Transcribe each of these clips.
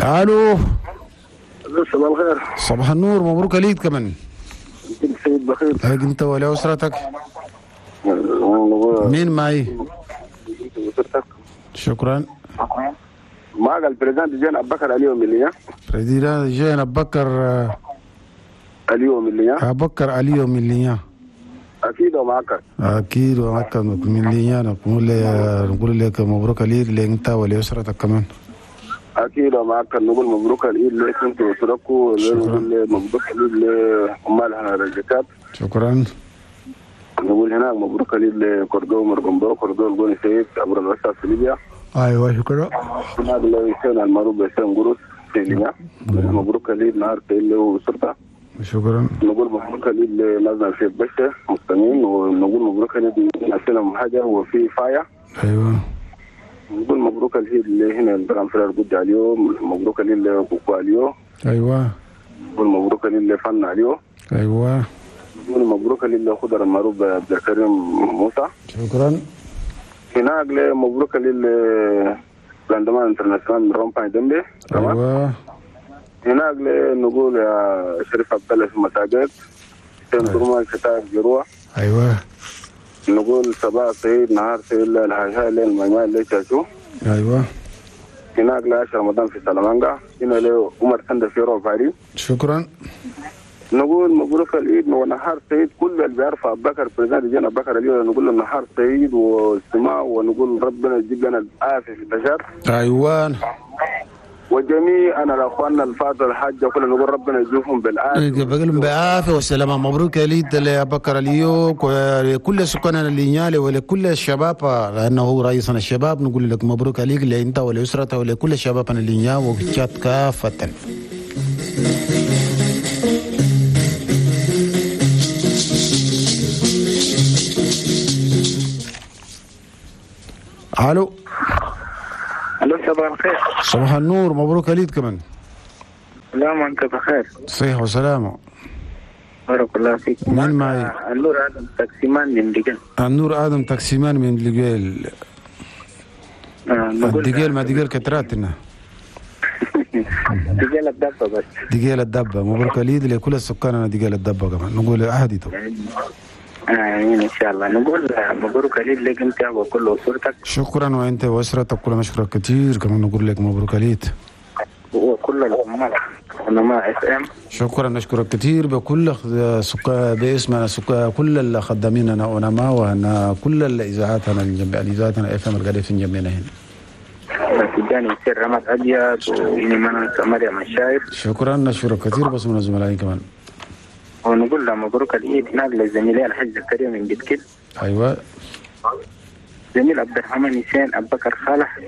الو. صباح الخير. صباح النور، مبروك العيد كمان. انت سيد بخير. انت ولا اسرتك؟ مين معي؟ شكرا. معك ال président des jeunes ابو بكر اليوم اللي président jeunes ابو بكر اليوم اللي ابو بكر اليوم اللي اكيد ومعك. اكيد ومعك من اللي نقول لك مبروك العيد لانت ولاسرتك كمان. اكيد ومعك، نقول مبروك العيد لك انت واسرتكم، ونقول مبروك العيد لعمال هنا الرجال. شكرا. نقول هناك مبروك العيد لكردو مرقمبو كردو الجوني سيد عبر الرسالة في ليبيا. ايوه شكرا. هناك لو المعروف بيسان قروس في ليبيا. مبروك العيد نهار سيد واسرته. شكرا. نقول مبروك العيد لنازل في بشة مستمعين، ونقول مبروك العيد لنا حاجة وفي فايا. ايوه. نقول مبروك العيد اللي هنا البرام فرار قد اليوم، مبروك العيد لكوكو اليوم. ايوه. نقول مبروك العيد لفن اليوم. ايوه. نقول مبروك العيد لخضر المعروف عبد الكريم موسى. شكرا. هناك مبروك العيد لاندمان international من رومباي دمبي. ايوه. هناك نقول يا شريف عبد الله في مساجد سين شتاء جروح. ايوه. نقول صباح سعيد نهار سعيد الحاجة الميمان اللي شاشو. ايوه. هناك ل10 رمضان في سلامانجا. هنا له عمر سند في روفاري. شكرا. نقول مبروك العيد ونهار سعيد كل اللي بيعرف ابو بكر président des jeunes ابو بكر اليوم، نقول له نهار سعيد واستماع، ونقول ربنا يجيب لنا العافية في البشر. ايوه. وجميع انا الاخوان الفاضل الحاجة كلنا نقول ربنا يجيبهم بالعافية، بقول بعافية والسلامة. مبروك العيد لابو بكر اليوم ولكل سكان اللينيالي ولكل الشباب، لانه هو رئيسنا الشباب. نقول لك مبروك عليك لانت ولاسرته ولكل الشباب اللينيا وتشاد كافة. الو. الو صباح الخير. صباح النور، مبروك العيد كمان. لا ما انت بخير. صحة وسلامة. بارك الله فيك. من معي؟ النور ادم تاكسيمان من دقيل. النور ادم تاكسيمان من دقيل. دقيل ما دقيل كتراتنا. دقيل الدبة بس. دقيل الدبة، مبروك العيد لكل السكان انا دقيل الدبة كمان، نقول عهدي طبعا. امين ان شاء الله. نقول مبروك العيد لك انت وكل اسرتك. شكرا، وانت واسرتك كل مشكورك كثير كمان. نقول لك مبروك العيد وكل العمال علماء FM. شكرا، نشكرك كثير بكل سكان باسمنا سكان كل الخدامين انا ونما وهنا كل الاذاعات هنا الاذاعات هنا FM القاعدة في جنبنا هنا. تجاني يصير رماد ابيض وإني مريم الشايب. شكرا، نشكرك كثير بس من الزملاء كمان. ونقول له مبروك العيد هناك للزميلين الحاج زكريا من بتكل. ايوه. زميل عبد الرحمن حسين ابو بكر صالح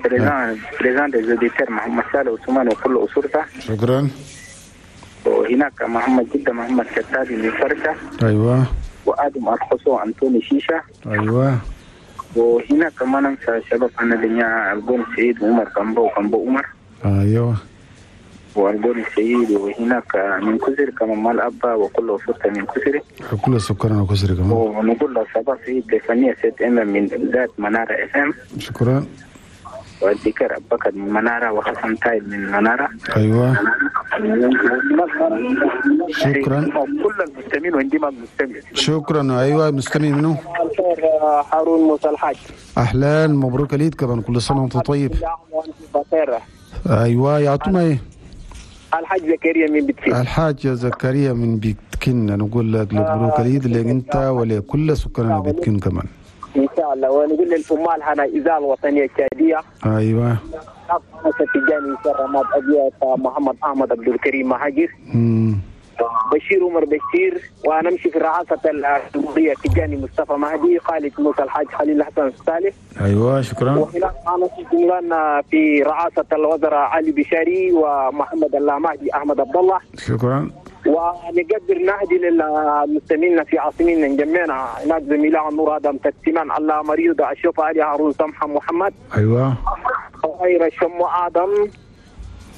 président des auditeurs محمد صالح عثمان وكل اسرته. شكرا. وهناك محمد جده محمد كتابي من فرشه. ايوه. وادم الخصو انطوني شيشة. ايوه. وهناك ما ننسى شباب انا دنيا الجون سعيد وعمر كمبو وكمبو عمر. ايوه. والجون السعيد. وهناك من كسر كمان مال أبا وكل أسرته من كسر. كل سكان كسر كمان. ونقول له صباح سعيد لفنية ست إم من ذات منارة FM. شكرا. والذكر أبو بكر من منارة وحسن تايب من منارة. أيوة. شكرا. كل المستمعين وعندي ما مستمع. شكرا. أيوة مستمع منه. هارون موسى الحاج. أهلا، مبروك العيد كمان، كل سنة وأنت طيب. أيوة يعطونا إيه؟ الحاج زكريا من بيتكين. الحاج زكريا من بيتكين، نقول لك مبروك العيد لك انت ولكل سكان بيتكين كمان ان شاء الله. ونقول للعمال هنا اذاعة الوطنية التشاديه. ايوه. تجاني رماد ابيض محمد احمد عبد الكريم مهاجر. بشير عمر بشير. ونمشي في رئاسة الجمهورية تجاني مصطفى مهدي خالد موسى الحاج خليل حسن صالح. ايوه شكرا. وهناك معنا في رئاسة الوزراء علي بشاري ومحمد الله مهدي احمد عبد الله. شكرا. ونقدر نهدي للمستمعين في عاصمتنا نجمعنا هناك زميلنا نور ادم تكسيمان الله مريض اشوف علي هارون سمحه محمد. ايوه. خير الشم ادم.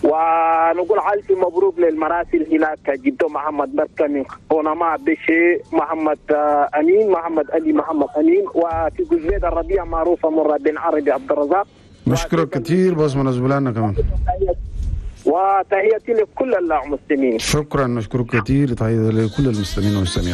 ونقول ألف مبروك للمراسل هناك جدو محمد بركة من قونما بشي محمد أمين محمد علي محمد أمين. وفي جزيرة الربيع معروفة مرة بن عربي عبد الرزاق. نشكرك كثير بس من زملائنا كمان. وتحياتي لكل المسلمين. شكرا، نشكرك كثير، تحية لكل المسلمين والمسلمين.